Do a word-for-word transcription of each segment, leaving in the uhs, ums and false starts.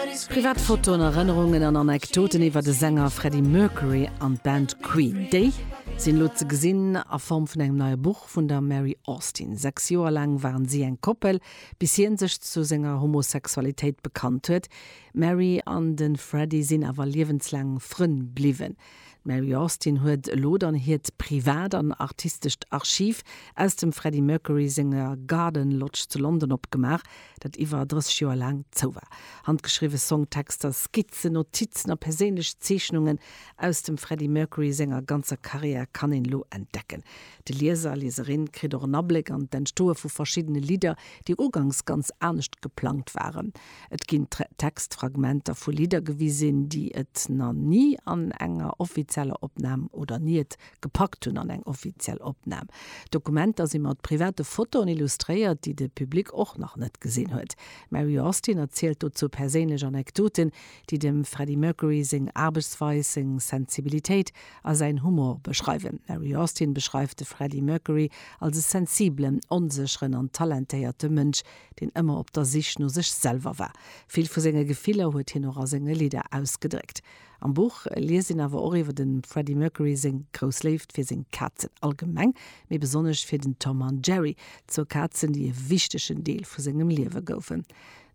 Privat Fotoen, Erënnerungen an Anekdoten iwwer de Sänger Freddie Mercury an d'Band Queen. Déi sinn elo ze gesinn a Form vun engem neie Buch vun der Mary Austin. Sechs Joer laang waren si eng Koppel, bis hien sech zu senger Homosexualitéit bekannt huet. D'Mary an de Freddie sinn awer liewenslaang Frënn bliwwen. D'Mary Austin huet elo dann hiert privat an artistescht Archiv aus dem Freddie Mercury senger Garden Lodge zu London opgemaach, dat iwwer drësseg Joer laang zou war. Handgeschriwwe Songtexter, Skizzen, Notizen a perséinlech Zeechnungen aus dem Freddie Mercury senger ganzer Karriär kann een elo entdecken. De Lieser, Lieserin kritt och en Abléck an d'Entstoe vu verschiddene Lidder, déi uganks ganz anescht geplangt waren. Et ginn Textfragmenter vu Lidder gewisen, déi et nach ni an enger offizieller Opnam oder ni et gepackt hunn an eng offiziell Opnam. D'Dokumenter si mat private Fotoen illustréiert, déi de Public och nach net gesinn huet. D'Mary Austin erzielt dozou perséinlech Anekdoten, déi dem Freddie Mercury seng Aarbechtsweis, seng Sensibilitéit a säin Humor beschreiwen. D'Mary Austin beschreift de Freddie Mercury als e sensibelen, onsécheren an talentéierte Mënsch, deen ëmmer op der Sich no sech selwer war. Vill vu senge Gefiller huet hien och a senge Lidder ausgedréckt. Am Buch liest een awer och iwwer dem Freddie Mercury seng grouss Léift fir seng Kazen allgemeng, mee besonnesch fir den Tom an Jerry, zwou Kazen, déi e wichtegen Deel vu sengem Liewe goufen.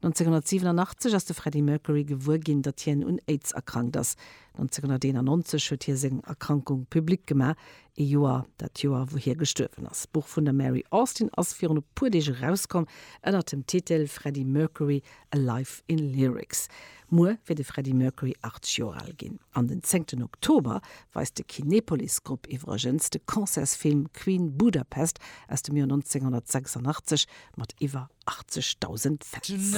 nonzénghonnertsiwenunachtzeg ass de Freddie Mercury gewuer ginn, datt hien un Aids erkrankt ass. nonzénghonnerteenannonzeg huet hie seng Erkrankung public gemaach, ee Joer, dat Joer wou hie gestuerwen ass. D'Buch vun der Mary Austin ass virun e puer Deeg erauskomm ënner dem Titel Freddie Mercury, A Life in Lyrics. Muer wier de Freddie Mercury achtzeg Joer al ginn. An den zéngten Oktober weist de Kinepolis Grupp iwwregens de Concertsfilm Queen Budapest aus dem Joer nonzénghonnertsechsundachtzeg mat iwwer achtzegdausend Fans.